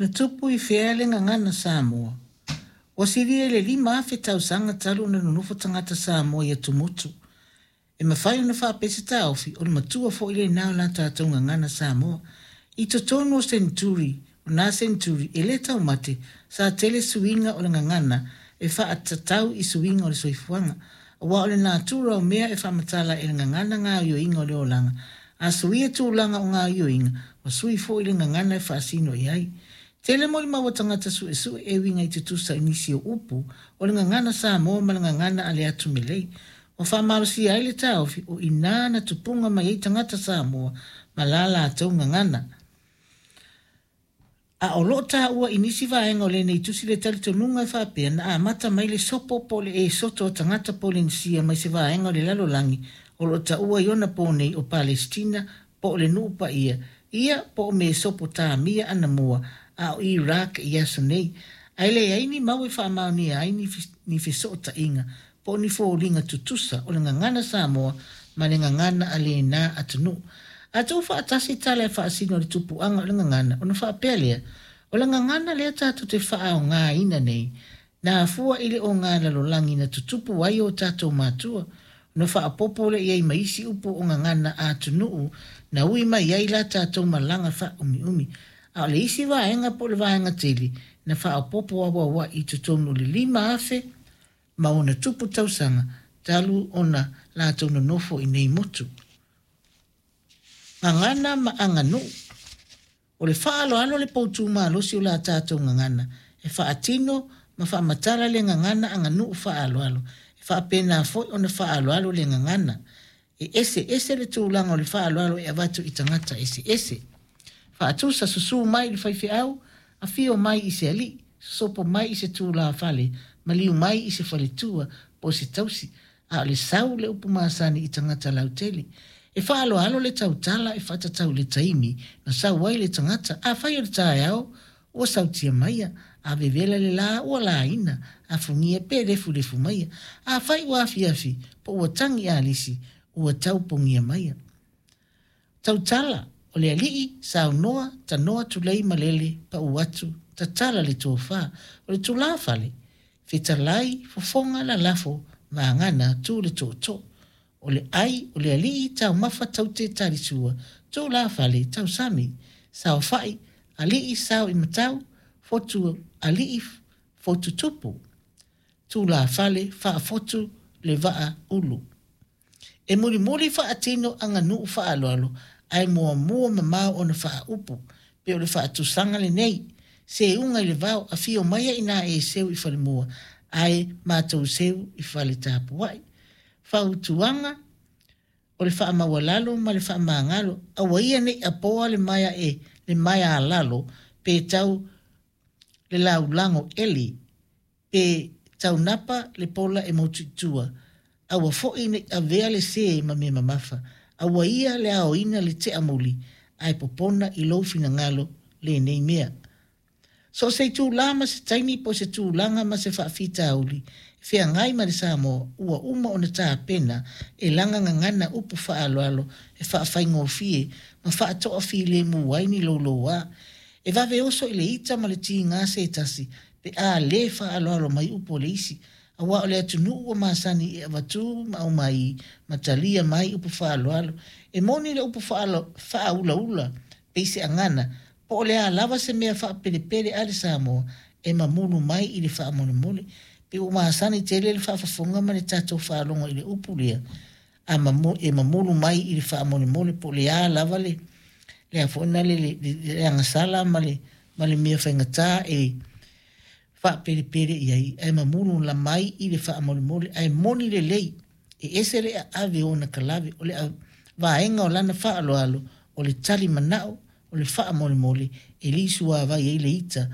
Na tupu i fea le gagana Samoa? Ua silia i le 5000 tausaga talu ona nonofo tagata Samoa i atumotu. E mafai ona faapea se taofi, o le matua foi lena o la tatou gagana Samoa. I totonu o seneturi, o na seneturi e le taumate, sa tele suiga o le gagana e faatatau i suiga o le soifuaga. Aua o le natura o mea e faamatala e le gagana gaoioiga o le olaga, a suia tulaga o gaoioiga, ua sui foi le gagana e faasino i ai. Tele molimau a tagata suesue e uiga i tutusa i nisi o upu o le gagana Samoa ma le gagana a le atu Melei. Ua faamalosia ai le taofi o i na na tupuga mai ai tagata Samoa ma la latou gagana. A o loo taua i nisi vaega o lenei tusi le talitonuga e faapea na amata mai le sopo po o le esoto a tagata Polenisia mai se vaega o le lalolagi o loo taua i ona po nei o Palesitina po o le Nuu Paia ia po o Mesopotamia anamua a o Iraq i aso nei. Ae leai ni mau e faamaonia ai ni fesootaiga po o ni foliga tutusa o le gagana Samoa ma le gagana a lena atunuu. A tuu faatasi tala e faasino i le tupuaga o le gagana ona faapea lea, o le gagana lea tatou te faaaogaina nei, na afua i le ogalalolagi na tutupu ai o tatou matua, ona faaopoopo lea i ai ma isi upu o gagana a atunuu na ui mai ai la tatou malaga faaumiumi. A o le isi vaega po o le vaega tele na faaopoopo auauai i totonu o le 5000 ma ona tupu tausaga talu ona latou nonofo i nei motu. Gagana ma aganuu. O le faaaloalo le poutu malosi o la tatou gagana, e faatino ma faamatala le gagana aganuu faaaloalo, e faapena foi ona faaaloalo le gagana. E eseese le tulaga o le faaaloalo e avatu i tagata eseese. Faatusa, susu mai i le faifeau, afio mai i se alii, sosopo mai i se tulafale, maliu mai i se faletua po o se tausi, a o le sau le upu masani i tagata lautele. E faaaloalo le tautala e faatatau i le taimi na sau ai le tagata. Afai o le taeao, ua sautia maia, a vevela le la, ua laina, afugia pe lefulefu maia. Afai ua afiafi, po ua tagi alisi, ua taupogia maia. Tautala, o le alii, saunoa, tanoa, tulei, malele, pau atu, tatala le tofa. O le tulafale, fetalai, fofoga, lalafo, vagana, tu le tootoo. O le ai, o le alii, taumafa, taute, talisua, tulafale, tausami, saofai, alii, sao i matau, fotu alii, fotu tupu, tulafale, faafotu, le vaa ulu. E mulimuli faatino aganuu faaaloalo ae muamua mamao ona faaupu, pei o le faatusaga lenei, seuga i le vao, afio maia ina e seu i falemua, ae matou seu i fale tapuai. Fautuaga, o le faamaualalo ma le faamagalo, aua ia ne i apoa le maea e le maea a lalo pe tau le laulago eli, pe taunapa le pola e motu i tua, aua foi ne i avea le sē ma mea mamafa, aua ia le aoina le tea muli, ae popona i lou finagalo lenei mea. So o se itulā ma se taimi po o se tulaga ma se faafitauli e feagai ma le Samoa, ua uma ona tapena e lana gagana upu faaaloalo e faafaigofie ma faatoafilemu ai ni loulouā. E vave oso i le ita ma le tiga se tasi pe a lē faaaloalo mai upu a le isi, aua o le atunuu ua masani e avatu ma aumai ma talia mai upu faaaloalo. E moni le upu faaulaula pei se agana, po o le a lava se mea faapelepele a le Samoa e mamulu mai i le faamolemole. Pei ua masani tele le faafofoga ma le tatou faalogo i le upu lea a e mamulu mai i le faamolemole, po o le a lava le le a foi na le le agasala ma le mea faigata e faapelepele i ai, ae mamulu la mai i le faamolemole. Ae moni lelei e ese le aave ona kalave, o le vaega o lana faaaloalo, o le tali manao, o le faamolemole e li suavai ai le ita.